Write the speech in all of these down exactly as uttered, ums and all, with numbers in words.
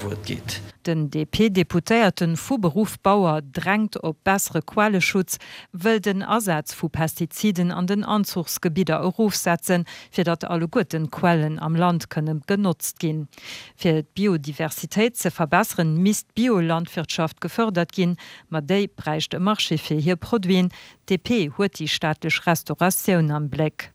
Wuert geet. Den D P-Deputéierten, vu Beruff Bauer, drängt op bessere Quelleschutz, wëll den Asaz vu Pestiziden an den Anzuchsgebidder erofsetzen, fir datt alleguerten d'Quellen am Land kënne genotzt ginn. Fir d'Biodiversitéit ze verbesseren, misst d'Biolandwirtschaft gefërdert ginn, ma déi bräicht e Marché fir hir Produiten. D P huet déi staatlech Restauratioun am Bléck.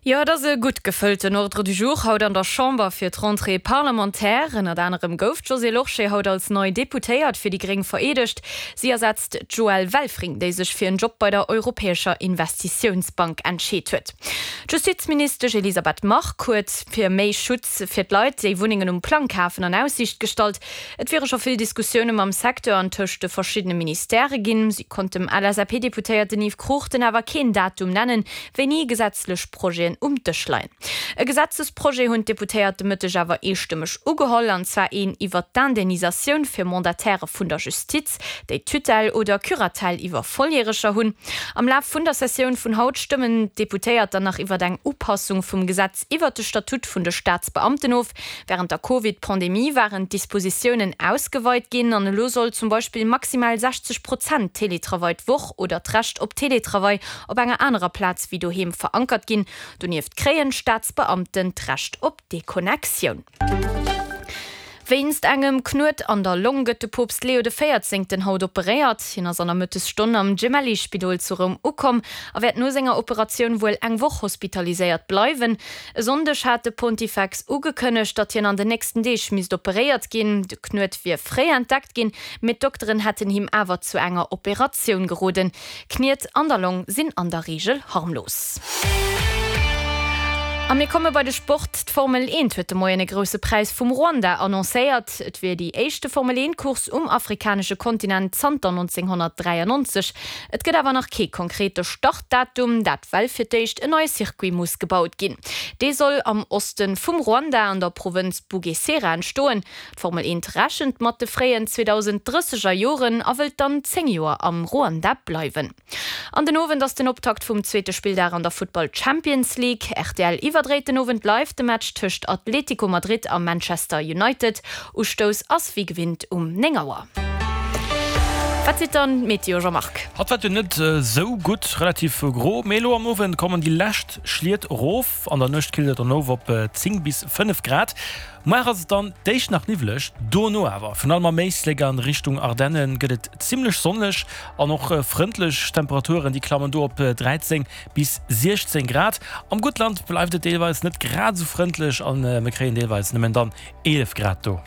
Jo, et ass e gutt gefëllten Ordre du jour haut an der Chamber fir d'Rentrée parlementaire. Ënnert anerem gouf d'Josée Lorsché haut als nei Deputéiert fir déi Gréng vereedegt. Si ersetzt d'Joëlle Welfring, déi sech fir en Job bei der Europäescher Investitiounsbank entscheet huet. D'Justizministesch Elisabeth Margue huet fir méi Schutz fir d'Leit, déi Wunnengen um Plang kafen, an Aussiicht gestallt. Et wiere scho vill Diskussioune mam Secteur an tëscht de verschiddene Ministèrë ginn. Si konnt dem L S A P-Deputéierten Yves Cruchten awer keen Datum nennen, wéini gesetzlech Projeten um Dësch leien. E Gesetzesprojet hunn d'Deputéiert de Mëtteg awer eestëmmeg ugeholl, an zwar een iwwer d'Indemnisatioun fir Mandatairë vun der Justiz, déi Tutelle oder Curatelle iwwer Volljäreger hunn. Am Laf vun der Sessioun vun haut stëmmen d'Deputéiert dann nach iwwer eng Upassung vum Gesetz iwwer de Statut vun de Staatsbeamten of. Wärend der Covid-Pandemie waren d'Dispositiounen ausgeweit ginn an elo soll zum Beispill maximal sechzeg Prozent Teletravail d'Woch oder d'Recht op Teletravail op enger anerer Plaz wéi doheem verankert ginn. Donieft kréien d'Staatsbeamten d'Recht op Deconnectioun. Wéinst engem Knuet an der Long gëtt de Poopst Leo de Véierzéngten haut operéiert. Hien ass an der Mëttesstonn am Gemelli-Spidol zu Roum ukomm a wäert no senger Operatioun wuel eng Woch hospitaliséiert bleiwen. E Sonndeg hat de Pontifex ugekënnegt, datt hien an den nächsten Deeg misst operéiert ginn. De Knuet wier fréi entdeckt ginn, mee d'Dokteren hätten him awer zu enger Operatioun geroden. Kniet an der Long sinn an der Reegel harmlos. A mir komme bei de Sport. D'Formel eent huet de Moien e grousse Präis vum Ruanda annoncéiert. Et wier déi éischte Formel eent Course um afrikanesche Kontinent zanter nonzénghonnertdräiannonzeg. Et gëtt awer nach kee konkrete Startdatum, dat well fir d'éischt en neie Circuit muss gebaut ginn. Dee soll am Oste vum Ruanda an der Provënz Bugesera entstoen. D'Formel eent rechent mat de fréien zweedausend drësseger Joren a wëllt dann zéng Joer am Ruanda bleiwen. An den Owend ass den Optakt vum zweete Spilldag an der Futtball Champions League. R T L iwwerdréit den Owend live de Match tëscht Atlético Madrid a Manchester United. Ustouss ass wéi gewinnt um néng Auer. Wat seet dann d'Meteo, Jean-Marc? Haut war et jo net esou gutt, relativ gro, mee elo am Owend kommen déi lescht Schliet erof. An der Nuecht killt et dann of op zéng bis fënnef Grad. Muer ass et dann d'éischt nach niwweleg, dono awer virun allem am Éislek an Richtung Ardennen gëtt et zimmlech sonneg an och frëndlech. Temperaturen déi klammen do op dräizéng bis siechzéng Grad. Am Guttland bleift et deelweis net grad esou frëndlech an mir kréien deelweis nëmmen dann eelef Grad do.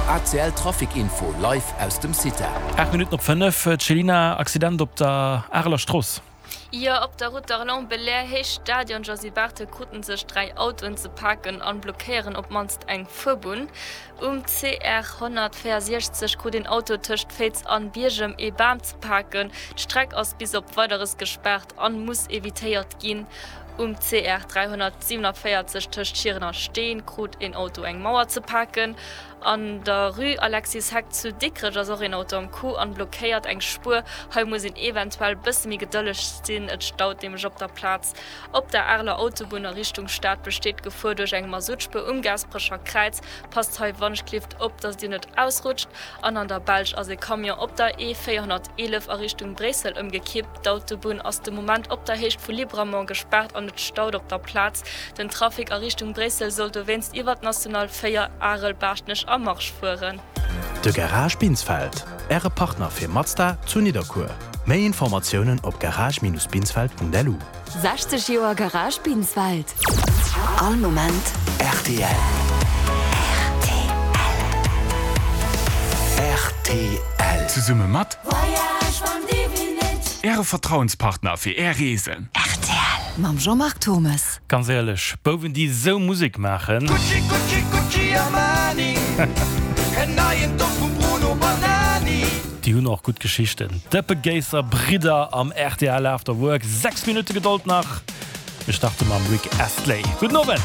A C L Trafic Info live aus dem CITA. Aacht Minutten op fënnef, Céline, Accident op der Areler Strooss. Jo, op der Route d'Arlon, Belair, Héicht Stadion Josy Barthel kruten sech dräi Autoen ze paken an blockéieren op d'mannst eng Fuerbunn. Um C R honnertvéierundsechzeg krut een Auto tëscht Féiz an Biergem ee Bam ze paken. D'Streck ass bis op Weideres gespaart an muss evitéiert ginn. Um C R dräihonnertsiewenavéierzeg tëscht Schieren a Steeën krut een Auto eng Mauer ze paken. An der Rue Alexis Heck zu Dikrech ass och een Auto am Coup an blockéiert eng Spuer. Hei muss een eventuell bësse méi gedëlleg sinn, et staut nämlech op der Plaz. Op der Areler Autobunn a Richtung Stad besteet d'Gefor duerch eng Masuttspuer um Gaasperecher Kräiz. Passt hei wannechgelift op, dass dir net ausrutscht. An an der Belsch ass e Camion op der E véierhonnerteelef a Richtung Bréissel ëmgekippt. D'Autobunn ass de Moment op der Héicht vu Libramont gespaart an et staut op der Plaz. Den Trafic a Richtung Bréissel soll dowéinst iwwer d'National véier, Arel, Baaschtnech a Marche fueren. De Garage Binsfeld, Äre Partner fir Mazda zu Nidderkuer. Méi Informatiounen op garage-binsfeld Punkt L U. sechzeg Joer Garage Binsfeld. All Moment R T L. R T L. Zesumme mat Äre Vertrauenspartner fir Är Reesen. R T L. Mam Jean-Marc Thommes. Ganz éierlech, Bouwen déi esou Musek maachen. Gucci, Gucci, Gucci, Armani. En neien Doft vum Bruno Banani. Déi hunn och gutt Geschichten. D'Dëppegéisser Bridder am R T L After Work. Sechs Minutte Gedold nach. Mir starte mam Rick Astley. Gudden Owend.